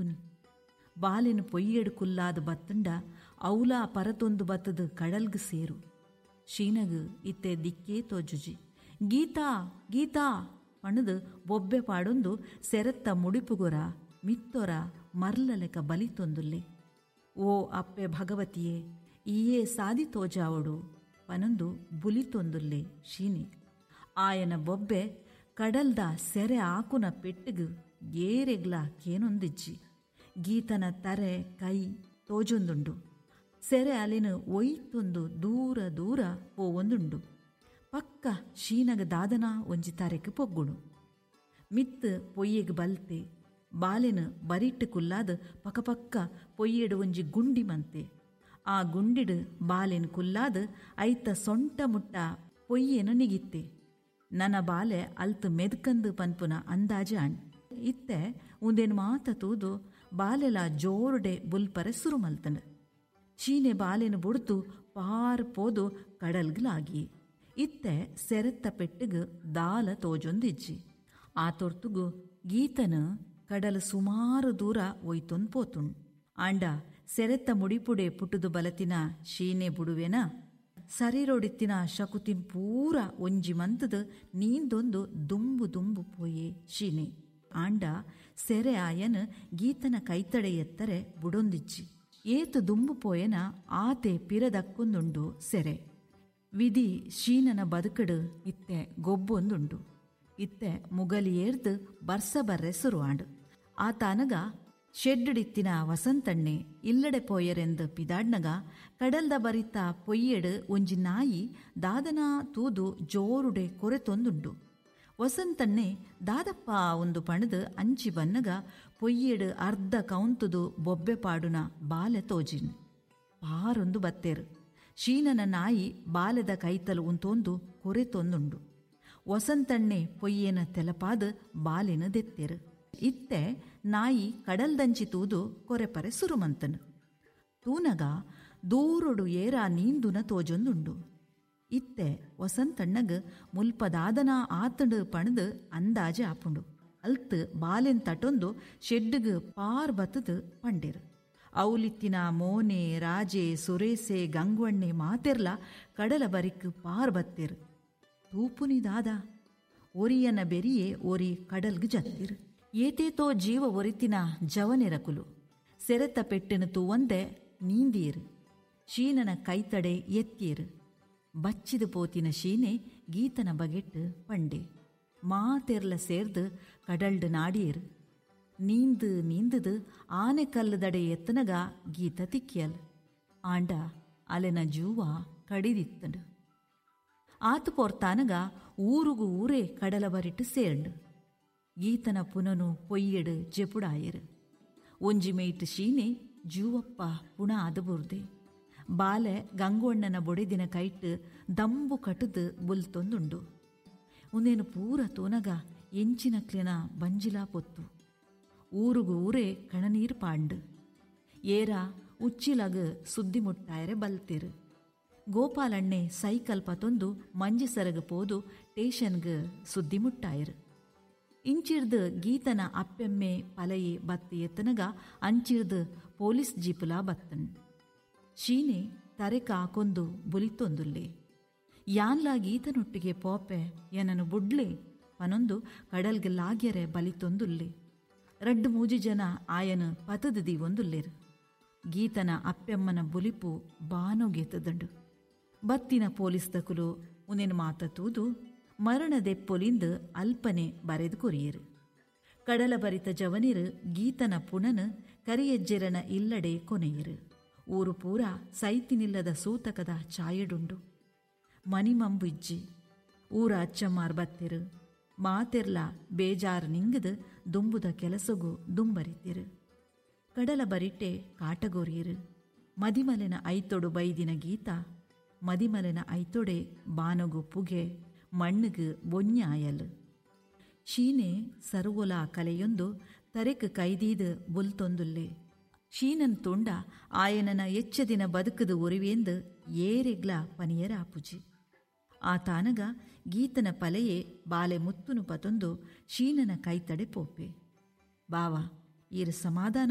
ಮನ್ಪುನಿ? ಬಾಲೆನ್ ಪೊಯ್ಯೆಡ್ ಕುಲ್ಲಾದ್ ಬತ್ತುಂಡ ಅವುಲಾ ಪರತೊಂದು ಬತ್ತುದು ಕಡಲ್ಗ್ ಸೇರು. ಶೀನಗ್ ಇತ್ತೆ ದಿಕ್ಕೇ ತೋಜುಜಿ. ಗೀತಾ ಗೀತಾ ಪಂಡುದು ಬೊಬ್ಬೆ ಪಾಡೊಂದು ಸೆರೆತ್ತ ಮುಡಿಪುಗೊರ ಮಿತ್ತೊರ ಮರ್ಲಲೆಕ ಬಲಿತೊಂದುಲ್ಲೆ. ಓ ಅಪ್ಪೆ ಭಗವತಿಯೇ ಈಯೇ ಸಾದಿ ತೋಜಾವೊಡು ಪನೊಂದು ಬುಲಿತೊಂದುಲ್ಲೆ ಶೀನೆ. ಆಯನ ಬೊಬ್ಬೆ ಕಡಲ್ದ ಸೆರೆ ಆಕುನ ಪೆಟ್ಟುಗು ಏರೆಗ್ಲಾ ಕೇನೊಂದಿಜ್ಜಿ. ಗೀತನ ತರೆ ಕೈ ತೋಜೊಂದುಂಡು. ಸೆರೆ ಅಲೆನ್ ಒಯ್ತೊಂದು ದೂರ ದೂರ ಪೋವೊಂದುಂಡು. ಪಕ್ಕ ಶೀನಗ ದಾದನಾ ಒಂಜಿ ತರೆಕ್ ಪೊಗ್ಗುಣು. ಮಿತ್ತ್ ಪೊಯ್ಯೆಗ್ ಬಲ್ತೆ. ಬಾಲೆನ್ ಬರಿಟ್ ಕುಲ್ಲಾದ್ ಪಕಪಕ್ಕ ಪೊಯ್ಯೆಡ್ ಒಂಜಿ ಗುಂಡಿ ಮಂತೆ. ಆ ಗುಂಡಿಡ್ ಬಾಲೆನ್ ಕುಲ್ಲಾದ್ ಐತ ಸೊಂಟ ಮುಟ್ಟ ಪೊಯ್ಯೆನ್ ನಿಗಿತ್ತೆ. ನನ ಬಾಲೆ ಅಲ್ತ್ ಮೆದ್ಕಂದ್ ಪನ್ಪುನ ಅಂದಾಜಿ ಆಂಡ್. ಇತ್ತೆ ಉಂದೆನ್ ಮಾತ ತೂದು ಬಾಲೆಲ ಜೋರುಡೆ ಬುಲ್ಪರೆ ಸುರು ಮಲ್ತ್ಂಡ್. ಚೀನೆ ಬಾಲೆನ್ ಬುಡ್ದು ಪಾರ್ ಪೋದು ಕಡಲ್ಗ್ ಲಾಗಿಯೆ. ಇತ್ತೆ ಸೆರೆತ್ತ ಪೆಟ್ಟುಗ್ ದಾಲ ತೋಜೊಂದಿಜ್ಜಿ. ಆ ತೊರ್ತುಗು ಗೀತನ್ ಕಡಲ್ ಸುಮಾರು ದೂರ ಒಯ್ತೊಂದು ಪೋತುಂಡು. ಆಂಡ ಸೆರೆತ್ತ ಮುಡಿಪುಡೆ ಪುಟ್ಟುದು ಬಲತಿನ ಶೀನೆ ಬುಡುವೆನಾ? ಸರೀರೊಡಿತ್ತಿನ ಶಕುತಿನ್ ಪೂರ ಒಂಜಿ ಮಂತುದು ನೀಂದೊಂದು ದುಂಬು ದುಂಬು ಪೋಯೆ ಶೀನೆ. ಆಂಡ ಸೆರೆ ಆಯನ್ ಗೀತನ ಕೈತಡೆ ಎತ್ತರೆ ಬುಡೊಂದಿಜ್ಜಿ. ಏತ್ ದುಂಬು ಪೋಯೆನ ಆತೆ ಪಿರದಕ್ಕೊಂದುಂಡು ಸೆರೆ. ವಿಧಿ ಶೀನನ ಬದುಕಡು ಇತ್ತೆ ಗೊಬ್ಬೊಂದುಂಡು. ಇತ್ತೆ ಮುಗಲಿಯೇರ್ದು ಬರ್ಸ ಬರ್ರೆ ಸುರುವಾಂಡು. ಆತಾನಗ ಶೆಡ್ಡಿತ್ತಿನ ವಸಂತಣ್ಣೆ ಇಲ್ಲಡೆ ಪೋಯರೆಂದು ಪಿದಾಡ್ನಗ ಕಡಲ್ದ ಬರಿತ ಪೊಯ್ಯೆಡ್ ಒಂಜಿ ನಾಯಿ ದಾದನಾ ತೂದು ಜೋರುಡೆ ಕೊರೆತೊಂದುಂಡು. ವಸಂತಣ್ಣೆ ದಾದಪ್ಪ ಒಂದು ಪಣದು ಅಂಚಿ ಬನ್ನಗ ಪೊಯ್ಯೆಡ್ ಅರ್ಧ ಕೌಂತುದು ಬೊಬ್ಬೆ ಪಾಡುನ ಬಾಲೆ ತೋಜಿನ್. ಪಾರೊಂದು ಬತ್ತೇರು. ಶೀನನ ನಾಯಿ ಬಾಲೆದ ಕೈತಲು ಉಂತೊಂದು ಕೊರೆತೊಂದುಂಡು. ವಸಂತಣ್ಣೆ ಪೊಯ್ಯೆನ ತೆಲಪಾದು ಬಾಲೆನ ದೆತ್ತೇರು. ಇತ್ತೆ ನಾಯಿ ಕಡಲ್ದಂಚಿ ತೂದು ಕೊರೆಪರೆ ಸುರುಮಂತನು. ತೂನಗ ದೂರೊಡು ಏರಾ ನೀಂದುನ ತೋಜೊಂದುಂಡು. ಇತ್ತೆ ವಸಂತಣ್ಣಗ್ ಮುಲ್ಪದಾದನ ಆತಂಡು ಪಣದು ಅಂದಾಜೆ ಆಪುಂಡು. ಅಲ್ತ್ ಬಾಲೆನ್ ತಟೊಂದು ಶೆಡ್ಡುಗ್ ಪಾರ್ ಬತ್ತದು ಪಂಡೇರು. ಔಲಿತ್ತಿನ ಮೋನೆ ರಾಜೆ ಸುರೇಸೆ ಗಂಗ್ವಣ್ಣೆ ಮಾತೆರ್ಲ ಕಡಲ ಬರಿಕ್ ಪಾರ್ ಬತ್ತೇರು. ತೂಪುನಿ ದಾದ ಒರಿಯನ ಬೆರಿಯೇ ಒರಿ ಕಡಲ್ಗ್ ಜತ್ತಿರು. ಏತೇತೋ ಜೀವ ಒರಿತಿನ ಜವನೆರಕುಲು ಸೆರೆತ ಪೆಟ್ಟಿನ ತೂವಂದೆ ನೀಂದಿಯರು. ಶೀನನ ಕೈತಡೆ ಎತ್ತಿಯರು. ಬಚ್ಚಿದು ಪೋತಿನ ಶೀನೆ ಗೀತನ ಬಗೆಟ್ಟು ಪಂಡೆ. ಮಾತೆರ್ಲ ಸೇರ್ದು ಕಡಲ್ಡು ನಾಡಿಯರು. ನೀಂದು ನೀಂದುದು ಆನೆ ಕಲ್ಲುದಡೆ ಎತ್ತನಗ ಗೀತ ತಿಕ್ಕಿಯಲ್. ಆಂಡ ಅಲೆನ ಜೂವ ಕಡಿದಿತ್ತಂಡು. ಆತು ಪೋರ್ತಾನಗ ಊರುಗು ಊರೇ ಕಡಲ ಬರಿಟ್ಟು ಸೇರ್ಂಡು. ಗೀತನ ಪುನನು ಪೊಯ್ಯೆಡು ಜೆಪುಡಾಯರು. ಒಂಜಿ ಮೇಯ್ಟ್ ಶೀನೆ ಜೂವಪ್ಪ ಪುಣ ಆದ ಬುರ್ದೆ. ಬಾಲೆ ಗಂಗೋಣ್ಣನ ಬೊಡೆದಿನ ಕೈಟ್ ದಂಬು ಕಟುದು ಬುಲ್ತೊಂದುಂಡು. ಉಂದೇನು ಪೂರ ತೂನಗ ಎಂಚಿನಕ್ಲೆನ ಬಂಜಿಲಾ ಪೊತ್ತು. ಊರುಗು ಊರೇ ಕಣನೀರು ಪಾಂಡು. ಏರ ಉಚ್ಚಿಲಗ್ ಸುದ್ದಿ ಮುಟ್ಟಾಯರೆ ಬಲ್ತಿರು. ಗೋಪಾಲಣ್ಣೆ ಸೈಕಲ್ ಪತೊಂದು ಮಂಜಿಸರಗ್ ಪೋದು ಟೇಷನ್ಗ್ ಸುದ್ದಿ ಮುಟ್ಟಾಯರು. ಇಂಚಿರ್ದು ಗೀತನ ಅಪ್ಪೆಮ್ಮೆ ಪಲಯೆ ಬತ್ತಿ ಎತ್ತನಗ ಅಂಚಿರ್ದು ಪೊಲೀಸ್ ಜೀಪುಲಾ ಬತ್ತನ್. ಶೀನೆ ತರೆಕ ಹಾಕೊಂದು ಬುಲಿತೊಂದುಲ್ಲೆ. ಯಾನ್ಲಾ ಗೀತನೊಟ್ಟಿಗೆ ಪೋಪೆ ಏನನು ಬುಡ್ಲೆ ಪನೊಂದು ಕಡಲ್ಗೆ ಲಾಗ್ಯರೆ ಬಲಿತೊಂದುಲ್ಲೆ. ರಡ್ಡು ಮೂಜಿ ಜನ ಆಯನು ಪತದು ದೀವೊಂದುಲ್ಲೇರು. ಗೀತನ ಅಪ್ಪೆಮ್ಮನ ಬುಲಿಪು ಬಾನೊಗೆತದಂಡು. ಬತ್ತಿನ ಪೊಲೀಸ್ ದಕುಲು ಉನೇನು ಮಾತ ತೂದು ಮರಣದೆಪ್ಪೊಲಿಂದು ಅಲ್ಪನೆ ಬರೆದು ಕೊರಿಯರು. ಕಡಲ ಬರಿತ ಜವನಿರು ಗೀತನ ಪುಣನು ಕರಿಯಜ್ಜೆರನ ಇಲ್ಲಡೆ ಕೊನೆಯರು. ಊರು ಪೂರ ಸೈತಿನಿಲ್ಲದ ಸೂತಕದ ಛಾಯೆಡುಂಡು. ಮನಿಮಂಬು ಇಜ್ಜಿ. ಊರ ಅಚ್ಚಮ್ಮಾರ್ ಬತ್ತಿರು. ಮಾತೆರ್ಲ ಬೇಜಾರು ನಿಂಗದು ದುಂಬುದ ಕೆಲಸಗು ದುಂಬರಿತಿರು. ಕಡಲ ಬರಿಟ್ಟೆ ಕಾಟಗೋರಿಯರು. ಮದಿಮಲೆನ ಐತೊಡು ಬೈದಿನ ಗೀತ ಮದಿಮಲೆನ ಐತೊಡೆ ಬಾನಗು ಪುಗೆ ಮಣ್ಣುಗು ಬೊನ್ಯಾಯಲ್. ಶೀನೆ ಸರ್ವೊಲ ಕಲೆಯೊಂದು ತರೆಕ್ ಕೈದೀದು ಬುಲ್ತೊಂದುಲ್ಲೆ. ಶೀನನ್ ತುಂಡ ಆಯನನ ಎಚ್ಚದಿನ ಬದುಕುದು ಒರಿವೇಂದು ಏರೆಗ್ಲ ಪನಿಯರಾಪುಜಿ. ಆ ತಾನಗ ಗೀತನ ಪಲೆಯೇ ಬಾಲೆ ಮುತ್ತುನು ಪತೊಂದು ಶೀನನ ಕೈತಡೆ ಪೋಪೆ. ಬಾವ ಈರು ಸಮಾಧಾನ